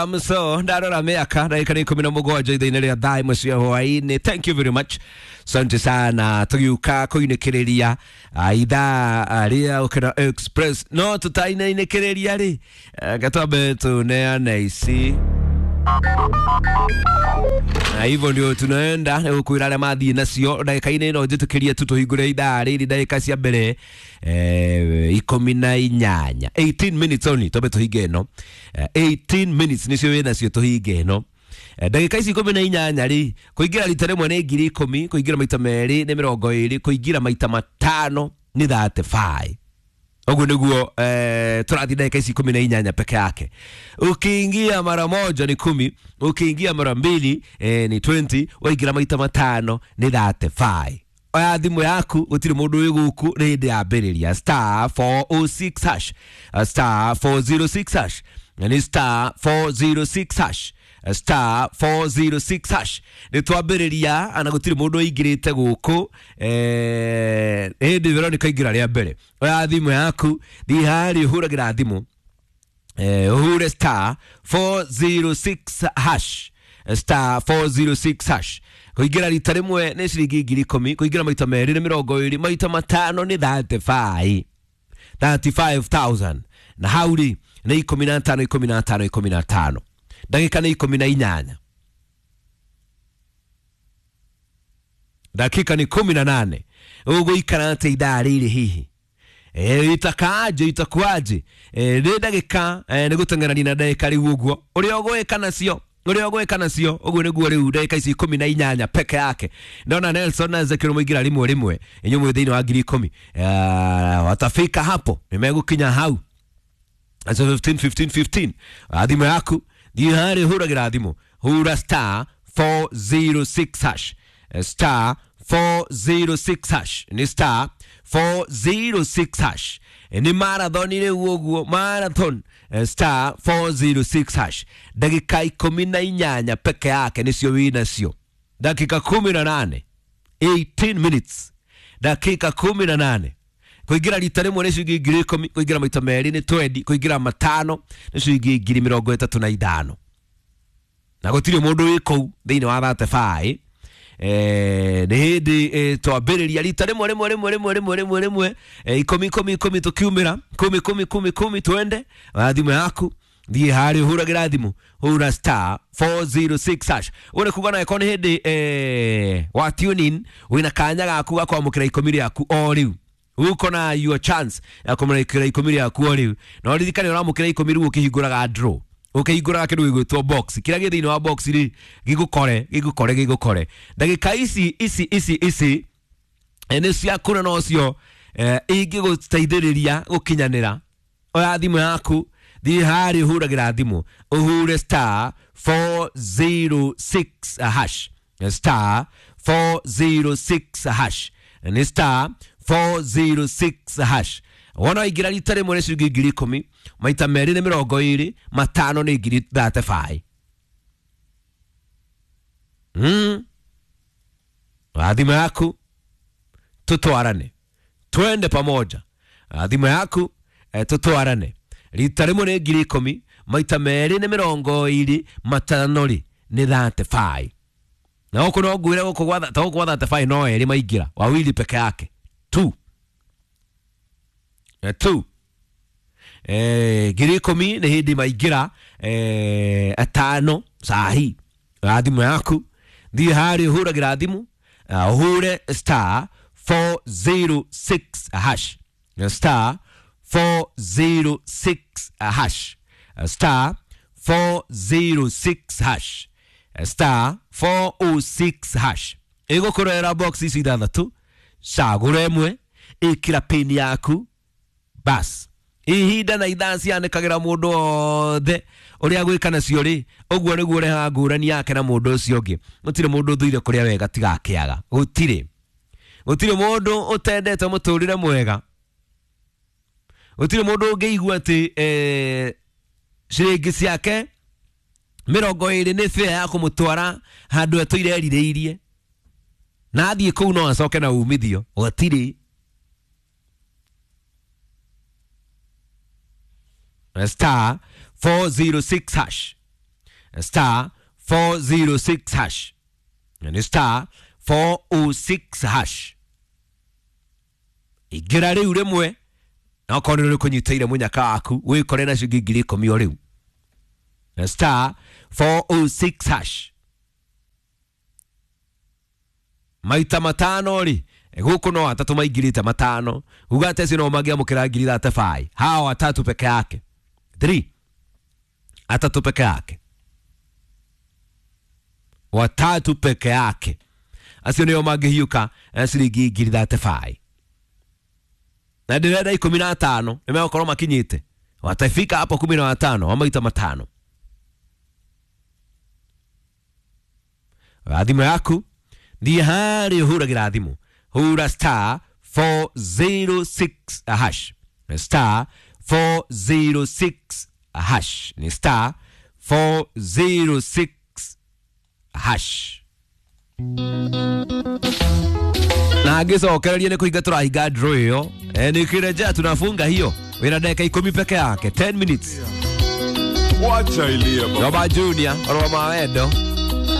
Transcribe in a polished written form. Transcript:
So ndarora mĩaka ndagĩka nĩ 17 ithaa-inĩ rĩa thaa ĩmwe cia hwaĩ-inĩ. Thank you very much, asante sana. Tũgĩũka kũinĩkĩrĩria ithaa rĩa Ũkĩra Express, no tũtainainĩkĩrĩria rĩ, gatwambe tũneane ici na hivyo ndio tunaenda nĩgũkwĩra arĩa mathiĩ nacio ndagĩka-inĩ ĩno njĩtĩkĩrie tu tũhingũre ithaa rĩrĩ ndagĩka cia mbere 18, 18 minutes only, twambe tũhinge ĩno. 18 minutes nĩcio wĩ nacio tũhinge ĩno. Ndagĩka ici 18 rĩ, kũingĩra rita rĩmwe nĩ 10,000, kũingĩra maita merĩ nĩ 20, kũingĩra maita matano nĩ 35. Ũguo nĩguo tũrathiĩ ndagĩka ici 18 peke yake. Ukiingia mara moja ni 10, ukiingia mara mbili ni 20, waingĩra maita matano nĩ 35. Oya thimũ yaku, gũtirĩ mũndũ wĩ gũkũ, nĩ hĩndĩ yambĩrĩria. Star 406 hash, star 406 hash, na nĩ star 406 hash, star 406 hash. Nĩ twambĩrĩria na gũtirĩ mũndũ ũingĩrĩte gũkũ. Hĩndĩ Veronica ingĩra rĩa mbere. Oya thimũ yaku, thiĩ harĩa ũhũragĩra thimũ, ũhure star 406 hash, star 406 hash. Kũingĩra rita rĩmwe nĩ ciringi 10,000, kũingĩra maita merĩ nĩ 20, maita matano nĩ 35, 35,000. Na hau rĩ nĩ 15, 15, 15. Ndagĩka nĩ 18, dakika ni 18. Ũgũikara atĩa ithaa rĩrĩ hihi? Itakaaje, itakuaje? Nĩ ndagĩka nĩ gũteng'erania na ndagĩka rĩu, ũguo ũrĩa ũgwĩka nacio, ũrĩa ũgwĩka nacio, ũguo nĩguo rĩu ndagĩka ici 18 peke yake. Ndona Nelson na Ezekiel mũingĩra rĩmwe rĩmwe, inyuĩ mwĩ thĩinĩ wa 10,000. Watafika hapo, nĩmegũkinya hau. So 15 15 15. Thimũ yaku, thiĩ harĩa ũhũragĩra thimũ, hura star 406 hash, star 406 hash, nĩ star 406 hash. Nĩ marathon rĩu ũguo, marathon. Star 406 hash, ndagĩka 18 peke yake nĩcio wĩ nacio. Dakika 18, 18 minutes, dakika 18. Kũingĩra rita rĩmwe nĩ ciringi 10,000, kũingĩra maita merĩ nĩ 20, kũingĩra matano nĩ ciringi 35,000. Na gũtirĩ mũndũ wĩ kũu thĩinĩ wa 35. Nĩ hĩndĩ twambĩrĩria rita rĩmwe rĩmwe rĩmwe rĩmwe rĩmwe rĩmwe rĩmwe, 10 10 10, tũkiumĩra 10 10 10 10, twende. Oya thimũ yaku, thiĩ harĩa ũhũragĩra thimũ, hũra star 406 hash. Ũguo nĩ kuga naĩkorwo nĩ hĩndĩ wa tune in, wĩna kanya gaku ga kwamũkĩra 10 rĩaku o rĩu. Uko na your chance ya kwamũkĩra 10 rĩaku o rĩu. Na ũririkane ũramũkĩra 10 rĩu ũkĩhingũraga draw, ũkĩhingũraga kĩndũ gĩgwĩtwo box. Kĩrĩa gĩ thĩinĩ wa box rĩ, gĩgũkore, gĩgũkore, gĩgũkore. Ndagĩka ici ici ici ici nĩ ciakũra nocio ingĩgũteithĩrĩria gũkinyanĩra. Oya thimũ yaku, thiĩ harĩa ũhũragĩra thimũ, ũhure star 406 hash, star 406 hash, nĩ star 406 hash. Wona waingĩra rita rĩmwe nĩ ciringi 10,000, maita merĩ nĩ 20, matano nĩ 35,000. Oya thimũ yaku, tũtwarane, twende pamoja. Thimũ yaku, tũtwarane. Rita rĩmwe nĩ 10,000, maita merĩ nĩ 20, matano rĩ nĩ 35. Na gũkũ no ngwĩre, gũkũ gwa ta gũkũ gwa 35 no erĩ maingĩra, wawili peke yake, 2 2. 10,000 nĩ hĩndĩ maingĩra atano sahi. Oya thimũ yaku, thiĩ harĩa ũhũragĩra thimũ, ũhure star 406 hash, star 406 hash, star 406 hash, star 406 hash. Ĩgũkũrehera box ici ithathatũ, cagũra ĩmwe, ĩkĩra pin yaku, bas. Ihinda na ithaa cianĩkagĩra mũndũ othe ũrĩa gwĩka nacio rĩ, ũguo nĩguo ũrehaga ngũrani yake na mũndũ ũcio ũngĩ. Gũtirĩ mũndũ ũthũire kũrĩa wega tigakĩaga, gũtirĩ, gũtirĩ mũndũ ũtendete mũtũrĩre mwega, gũtirĩ mũndũ ũngĩigua atĩ ciringi ciake 20 nĩ fare ya kũmũtwara handũ atũire erirĩirie, na athiĩ kũu no acoke na umithio, gũtirĩ. Star 406 hash. Star 406 hash. Nĩ star 406 hash. Ingĩra rĩu rĩmwe na okorwo nĩ ũkũnyitĩire mũnyaka waku wĩkore na ciringi 10,000 o rĩu. Star 406 hash. Maita matano rĩ, gũkũ no atatũ maingĩrĩte matano, uga atĩ acio no mangĩamũkĩra 35,000. Hawa watatu peke yake, 3 atatu peke yake, watatu peke yake, acio nĩo mangĩhiũka ciringi 35,000. Na ndĩrenda 15 nĩmegũkorwo makinyĩte, watafika hapo 15 wa maita matano. Thimũ yaku thiĩ harĩa ũhũragĩra thimũ, hura star 406 hash, star 406 hash, ni star 406 hash. Na ngĩcokereria nĩ kũhinga tũrahinga draw ĩyo, nikirejea tunafunga hiyo wĩna ndagĩka 10 peke yake, 10 minutes. Wacha ilie baba. Roba Junior, Roma Wendo.